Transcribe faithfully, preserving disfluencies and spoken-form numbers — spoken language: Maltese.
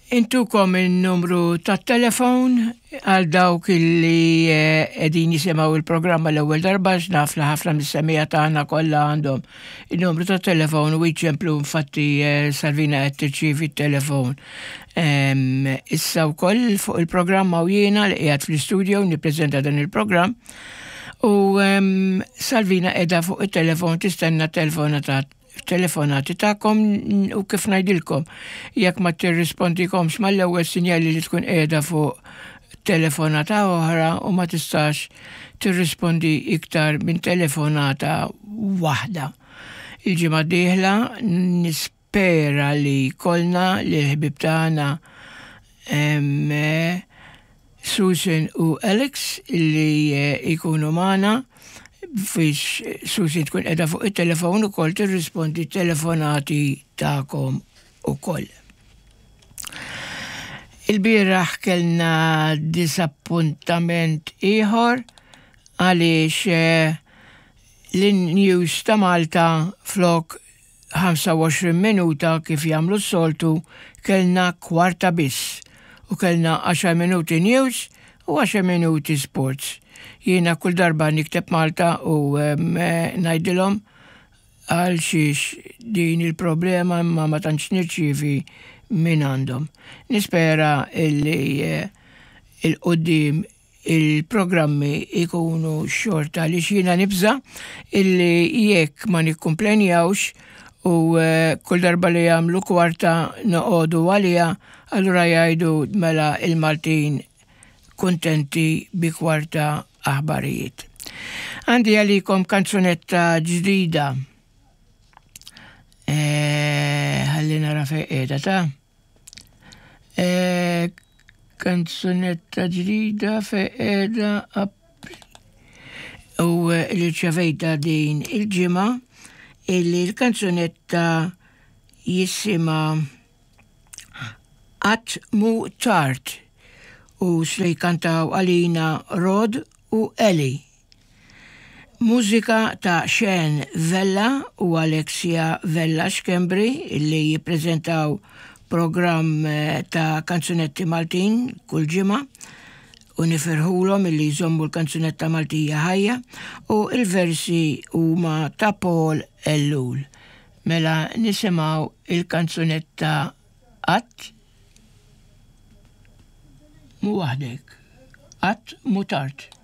Intukom il-numru tat-telefon għal dawk illi eh, qegħdin jisimgħu il-programma l-ewwel darba, naf li ħafna mis-semmiegħa tagħna kollha għandhom il-numru tat-telefon u jċemplu. Infatti eh, Salvina qed tirċievi t-telefon issa wkoll fuq il-programma u jiena li qiegħed fl-istudio nippreżenta dan il-programm u Salvina qiegħda fuq it-telefon tistenna telefonata telefonati tagħkom. U kif ngħidilkom, jekk ma tirrispondikomx mal-ewwel, sinjali li tkun qiegħda fuq telefonata oħra u ma tistax tirrispondi iktar minn telefonata waħda. Il-ġimgħa dieħla nispera li kollna li l-ħbib tagħna Susan u Alex li jkunu magħna biex Susan tkun qiegħda fuq it-telefon ukoll tirrispondi telefonati tagħkom ukoll. Il-bieraħ kellna disappuntament ieħor għaliex eh, l-news ta' Malta, flok ħamsa u għoxrin minuta kif jagħmlu s-soltu, kellna kwarta biss u kellna għaxar minuti news u għaxar minuti sports. Jiena kull darba nikteb Malta u ngħidilhom għal xiex din il-problema, imma ma tantx nirċievi minn għandhom. Nispera illi eh, 'il quddiem il-programmi ikunu xorta li jiena nibża' illi jekk ma nikkumplenjawx u eh, kull darba li jagħmlu kwarta noqogħdu għalija, allura jgħidu mela il-Maltin kontenti bi kwarta aħbarijiet. Għandi għalikom kanzunetta ġdida. Eh, ħalli nara fejn qiegħda ta' e, kanzunetta ġdida fejn qiegħda u li rċevejtha din il-ġimgħa, illi l-kanzunetta jisimha "Qatt Mhu Tard" u se jkantaw għalina Rod u Eli. Mużika ta' Sean Vella u Alexia Vella Schembri, illi jippreżentaw program eh, ta' kanzunetti Maltin kull ġimgħa u nifirħulhom illi jżommu l-kanzunetta Maltija ħajja, u il-versi huma ta' Paul Ellul. Mela nisimgħu il-kanzunetta "Qatt Mhu Waħdek", "Qatt Mhu Tard".